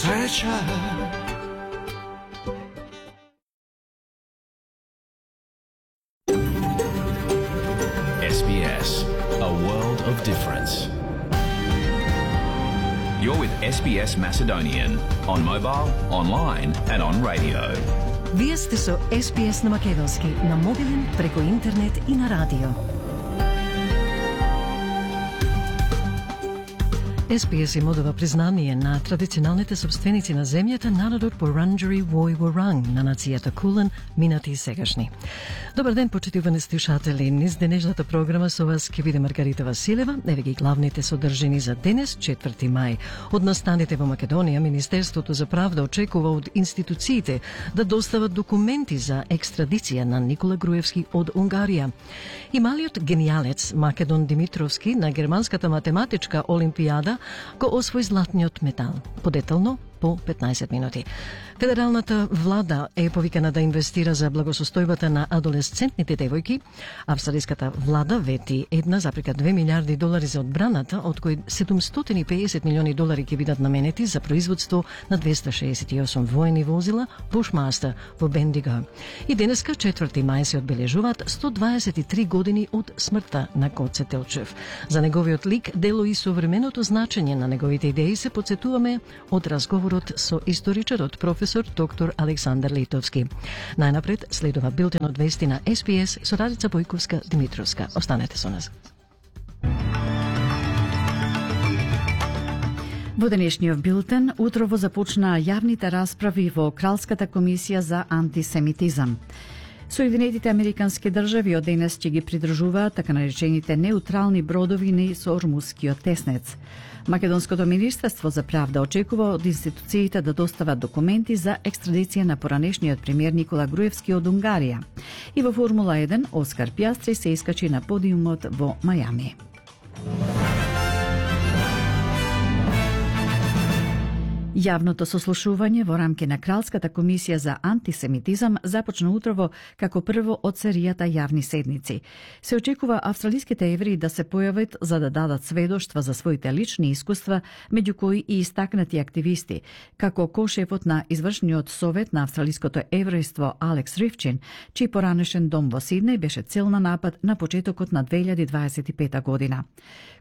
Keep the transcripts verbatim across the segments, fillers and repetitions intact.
Sreća. S B S, a world of difference. You're with S B S Macedonian on mobile, online and on radio. Вие сте со С Б С на македонски, на мобилен, преку интернет и на радио. С Б С им одава признание на традиционалните собственици на земјата, народот Вуранџери Вој Вуранг, на нацијата Кулен, минати и сегашни. Добар ден, почитувани слушатели. Низ денешната програма со вас ќе биде Маргарита Василева. Еве ги главните содржини за денес, четврти мај. Од настаните во Македонија, Министерството за правда очекува од институциите да достават документи за екстрадиција на Никола Груевски од Унгарија. И малиот генијалец Македон Димитровски на германската математичка олимпијада го освои златниот медал. Подетално по петнаесет минути. Федералната влада е повикана да инвестира за благосостојбата на адолесцентните девојки. Австралиската влада вети една запрека две милиарди долари за одбраната, од кои седумстотини и педесет милиони долари ќе бидат наменети за производство на двеста шеесет и осум воени возила Bushmaster во Бендиго. И денеска, четврти мај, се одбележуваат сто дваесет и три години од смртта на Гоце Делчев. За неговиот лик, дело и современото значење на неговите идеи се подсетуваме од разговорот со историчарот професор доктор Александар Литовски. Најнапред следува билтен од вести на С Б С со Радица Бојковска-Димитровска. Останете со нас. Во денешниот билтен утрово започнаа јавните расправи во Кралската комисија за антисемитизам. Соединетите американски држави од денес ќе ги придржуваат така наречените неутрални бродови низ Ормускиот теснец. Македонското министерство за правда очекува од институциите да достават документи за екстрадиција на поранешниот премиер Никола Груевски од Унгарија. И во Формула еден Оскар Пјастри се искачи на подиумот во Мајами. Јавното сослушување во рамки на Кралската комисија за антисемитизам започна утрово како прво од серијата јавни седници. Се очекува австралиските евреи да се појават за да дадат сведоштва за своите лични искуства, меѓу кои и истакнати активисти, како кошефот на извршниот совет на австралиското еврејство Алекс Ривчин, чиј поранешен дом во Сиднеј беше цел на напад на почетокот на две илјади дваесет и пета година.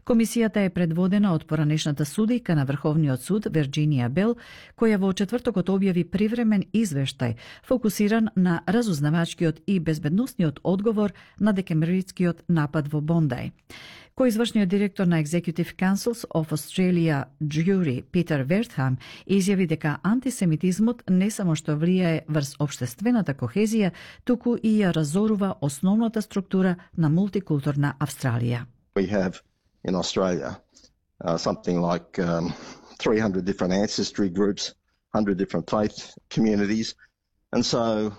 Комисијата е предводена од поранешната судијка на Врховниот суд Вирџинија Бел, која во четвртокот објави привремен извештај фокусиран на разузнавачкиот и безбедносниот одговор на декемврискиот напад во Бондај. Коизвршниот директор на Executive Councils of Australia Jury Питер Вертхам изјави дека антисемитизмот не само што влијае врз општествената кохезија, туку и ја разорува основната структура на мултикултурна Австралија. We have in Australia uh, something like um, three hundred different ancestry groups, one hundred different faith communities, and so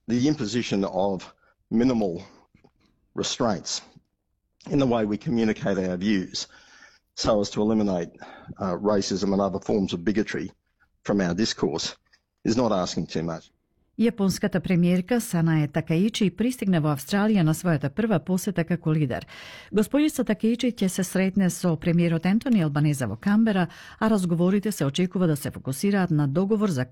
the imposition of minimal restraints in the way we communicate our views so as to eliminate uh, racism and other forms of bigotry from our discourse is not asking too much. Јапонската премиерка Санае Такаичи пристигна во Австралија на својата прва посета како лидер. Господица Такаичи ќе се сретне со премиерот Ентони Албанеза во Камбера, а разговорите се очекува да се фокусираат на договор за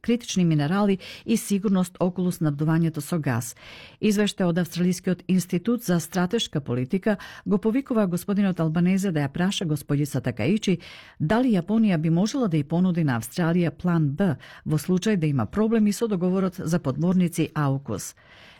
критични минерали и сигурност околу снабдувањето со газ. Извештај од Австралискиот институт за стратешка политика го повикува господинот Албанезе да ја праша господица Такаичи дали Јапонија би можела да ја понуди на Австралија план Б во случај да има проблеми со договорот за подморници Аукус.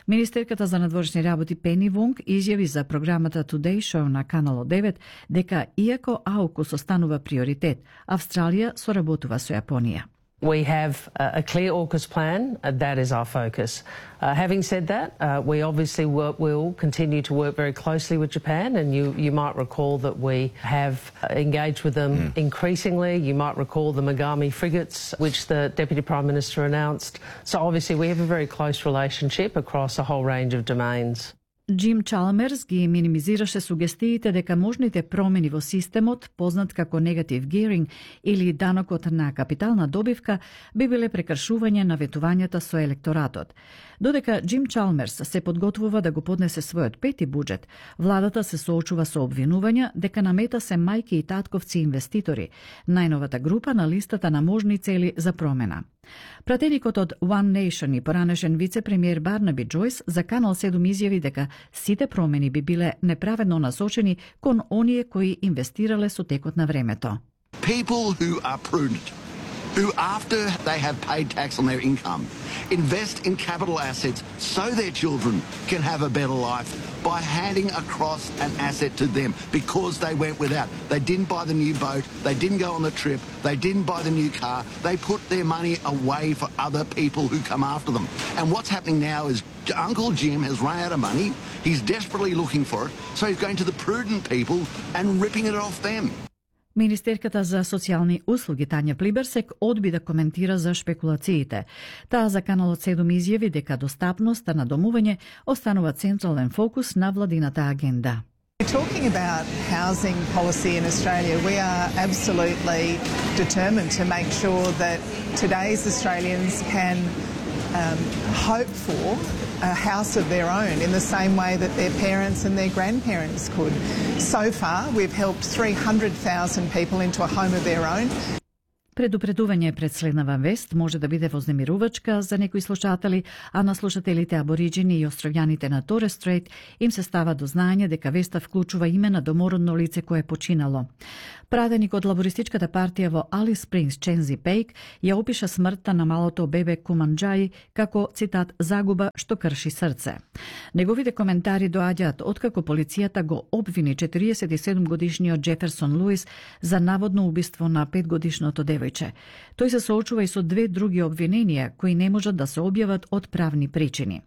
Министерката за надворешни работи Пени Вонг изјави за програмата Today Show на Канал девет дека иако Аукус останува приоритет, Австралија соработува со Јапонија. We have a clear AUKUS plan. Uh, that is our focus. Uh, having said that, uh, we obviously work, will continue to work very closely with Japan, and you, you might recall that we have engaged with them mm. increasingly. You might recall the Megami frigates, which the Deputy Prime Minister announced. So obviously we have a very close relationship across a whole range of domains. Джим Чалмерс ги минимизираше сугестиите дека можните промени во системот, познат како негатив геаринг или данокот на капитална добивка, би биле прекршување на ветувањата со електоратот. Додека Джим Чалмерс се подготвува да го поднесе својот пети буџет, владата се соочува со обвинувања дека на мета се мајки и татковци инвеститори, најновата група на листата на можни цели за промена. Пратеникот од One Nation и поранешен вице-премиер Барнаби Джойс за Канал седум изјави дека сите промени би биле неправедно насочени кон оние кои инвестирале со текот на времето. People who are prudent, who after they have paid tax on their income, invest in capital assets so their children can have a better life by handing across an asset to them because they went without. They didn't buy the new boat, they didn't go on the trip, they didn't buy the new car, they put their money away for other people who come after them. And what's happening now is Uncle Jim has run out of money, he's desperately looking for it, so he's going to the prudent people and ripping it off them. Министерката за социјални услуги Тања Плиберсек одби да коментира за шпекулациите. Таа за Каналот седум изјави дека достапноста на домување останува централен фокус на владината агенда. Talking about housing policy in Australia, we are absolutely determined to make sure that today's Australians can um, hope for a house of their own in the same way that their parents and their grandparents could. So far, we've helped three hundred thousand people into a home of their own. Предупредување пред следнава вест може да биде вознемирувачка за некои слушатели, а на слушателите абориџини и островјаните на Торес Стрейт им се става до знаење дека веста вклучува име на домородно лице кое е починало. Праденик од лабористичката партија во Алис Спрингс Чензи Пейк ја опиша смртта на малото бебе Куманџаи како, цитат, загуба што крши срце. Неговите коментари доаѓаат откако полицијата го обвини четириесет и седум годишниот Джеферсон Луис за наводно убиство на петгодишното девојче. Тој се соочува и со две други обвиненија кои не можат да се објават од правни причини.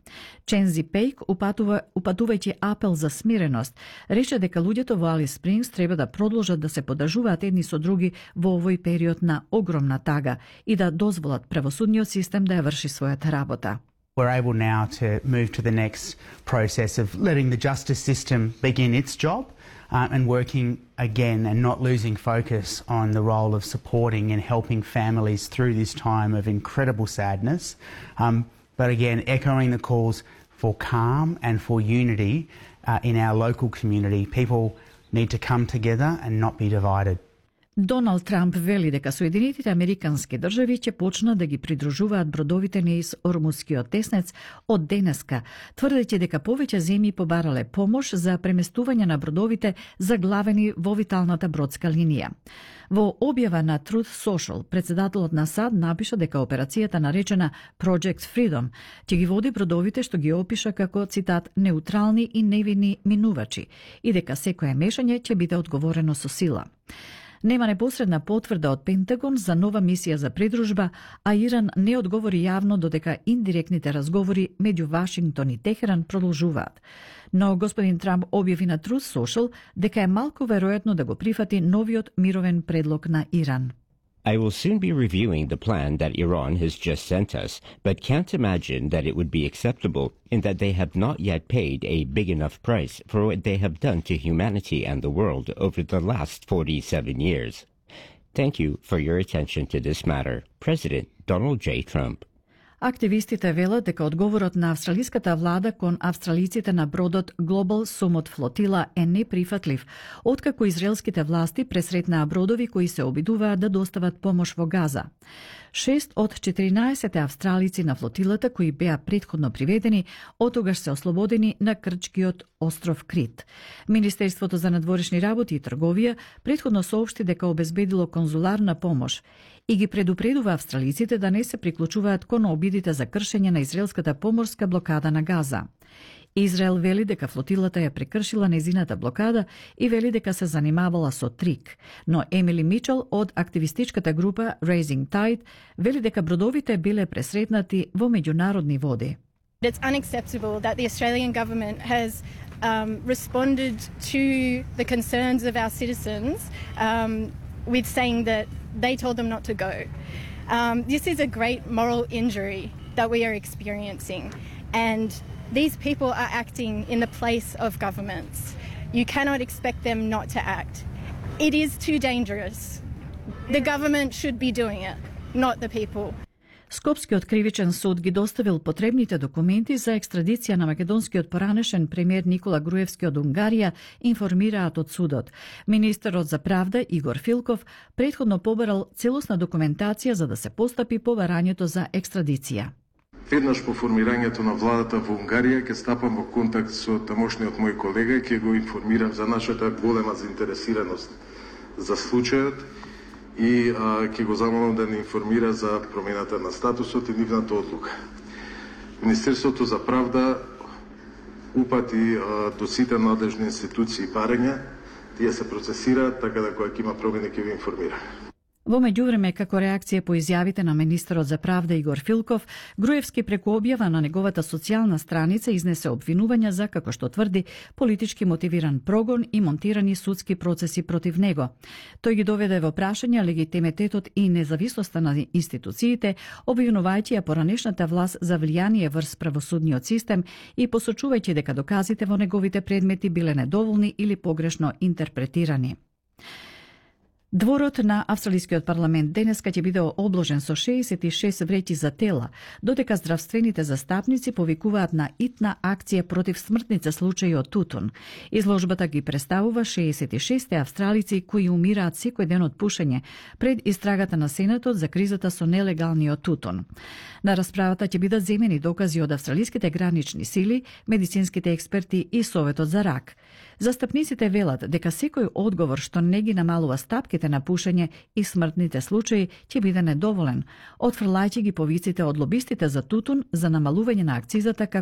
Чензи Пейк, упатува, упатувајќи апел за смиреност, рече дека луѓето во Алис Спрингс треба да продолжат да се подржуваат едни со други во овој период на огромна тага и да дозволат правосудниот систем да ја врши својата работа. We're able now to move to the next process of letting the justice system begin its job uh, and working again and not losing focus on the role of supporting and helping families through this time of incredible sadness. Um, but again, echoing the calls for calm and for unity uh, in our local community. People need to come together and not be divided. Доналд Трамп вели дека Соединетите Американски држави ќе почнат да ги придружуваат бродовите низ Ормускиот теснец од денеска, тврдејќи дека повеќе земји побарале помош за преместување на бродовите заглавени во виталната бродска линија. Во објава на Truth Social, председателот на САД напиша дека операцијата наречена Project Freedom ќе ги води бродовите што ги опиша како, цитат, неутрални и невини минувачи и дека секое мешање ќе биде одговорено со сила. Нема непосредна потврда од Пентагон за нова мисија за придружба, а Иран не одговори јавно додека индиректните разговори меѓу Вашингтон и Техеран продолжуваат. Но господин Трамп објави на Truth Social дека е малку веројатно да го прифати новиот мировен предлог на Иран. I will soon be reviewing the plan that Iran has just sent us, but can't imagine that it would be acceptable in that they have not yet paid a big enough price for what they have done to humanity and the world over the last forty-seven years. Thank you for your attention to this matter. President Donald J. Trump. Активистите велат дека одговорот на австралиската влада кон австралиците на бродот Global Summit Flotilla е неприфатлив, откако израелските власти пресретнаа бродови кои се обидуваат да достават помош во Газа. Шест од четиринаесет австралици на флотилата кои беа претходно приведени, отогаш се ослободени на грчкиот остров Крит. Министерството за надворешни работи и трговија претходно соопшти дека обезбедило конзуларна помош и ги предупредува австралиците да не се приклучуваат кон обидите за кршење на израелската поморска блокада на Газа. Израел вели дека флотилата ја прекршила незината блокада и вели дека се занимавала со трик, но Емили Мичел од активистичката група Raising Tide вели дека бродовите биле пресретнати во меѓународни води. It's unacceptable that the Australian government has um, responded to the concerns of our citizens um, with saying that they told them not to go. Um, this is a great moral injury that we are experiencing, and these people are acting in the place of governments. You cannot expect them not to act. It is too dangerous. The government should be doing it, not the people. Скопскиот кривичен суд ги доставил потребните документи за екстрадиција на македонскиот поранешен премиер Никола Груевски од Унгарија, информираат од судот. Министерот за правда Игор Филков претходно побарал целосна документација за да се постапи по барањето за екстрадиција. Веднаш по формирањето на владата во Унгарија ќе стапам во контакт со тамошниот мој колега и ќе го информирам за нашата голема заинтересираност за случајот и а, ќе го замолам да не информира за промената на статусот и нивната одлука. Министерството за правда упати а, до сите надлежни институции барања, тие се процесираат, така да кога ќе има промени ќе ви информира. Во меѓувреме, како реакција по изјавите на министерот за правда Игор Филков, Груевски преку објава на неговата социјална страница изнесе обвинувања за, како што тврди, политички мотивиран прогон и монтирани судски процеси против него. Тој ги доведе во прашање легитимитетот и независноста на институциите, обвинувајќи ја поранешната власт за влијание врз правосудниот систем и посочувајќи дека доказите во неговите предмети биле недоволни или погрешно интерпретирани. Дворот на Австралискиот парламент денеска ќе биде обложен со шеесет и шест вреќи за тела, додека здравствените застапници повикуваат на итна акција против смртните случаи од тутун. Изложбата ги представува шеесет и шест австралици кои умираат секој ден од пушење пред истрагата на Сенатот за кризата со нелегалниот тутун. На расправата ќе бидат земени докази од австралиските гранични сили, медицинските експерти и Советот за рак. Застапниците велат дека секој одговор што не ги намалува стапките на пушење и смртните случаи ќе биде недоволен, отфрлајќи ги повиците од лобистите за тутун за намалување на акцизата како